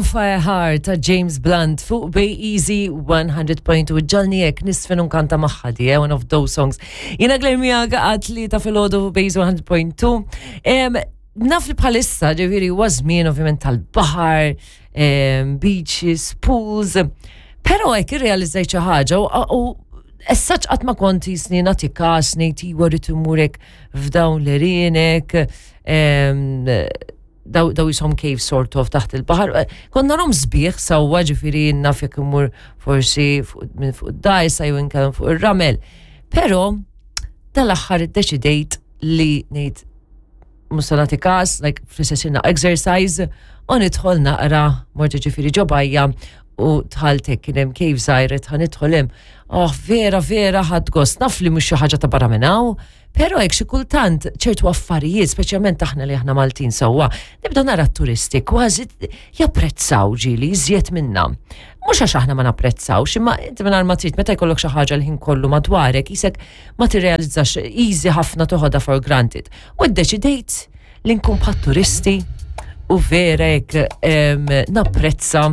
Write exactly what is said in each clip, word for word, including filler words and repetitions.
Bonfire Heart ta' James Blunt fuq Bay Easy one hundred point two. Ġagħalni hekk niżfen u nkanta magħha di, eh, one of those songs. Jiena Claire miegħek għat-tlieta filgħodu Bay Easy one hundred point two. Em, Naf li bħalissa, ġifieri, huwa żmien ovvjament tal-baħar, em, beaches, pools, pero hekk irrealizzajt xi ħaġa u u essaċ qatt ma konti snin nagħti kas ngħid iwa rrid immurek f'dawn l-erinek, em, daw daw jisom cave sort of taħt il-baħar. Konna narahom sbieħ sewwa, ġifieri naf jekk immur forsi fuq- minn fuq id-dgħajsa jew inkellem fuq ir-ramel. Pero dal-aħħar iddeċidejt li ngħid mhux se nagħti kas, like fl-istess exercise, u nidħol naqra, mort ġifieri ġo bajja u dħalt, kien hemm cave żgħira, ħa nidħol hemm. Oh, vera, vera ħadt gost. Naf li mhux xi ħaġa ta' barra minn hawn, pero hekk xi kultant ċertu affarijiet, speċjalment aħna li aħna Maltin sewwa, nibda nara t-turisti kważi japprezzaw ġieli iżjed minna. Mhux għax aħna ma napprezzawx, imma inti minn ma trid meta jkollok xi ħaġa l-ħin kollu madwarek, isek ma tirrealizzax, easy ħafna toħodha for granted. U ddeċidejt li nkun bħat turisti u vera hekk em, napprezza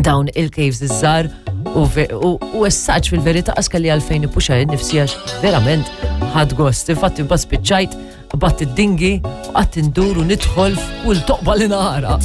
dawn il-caves iż-żgħar u, ve- u, u essaċ fil-verità qas kelli għalfejn nippuxja nifsi għax verament ħadt gost. Infatti mbagħad spiċċajt qbadt id-dinghy u qatt indur u nidħol f'kull toqba li nara.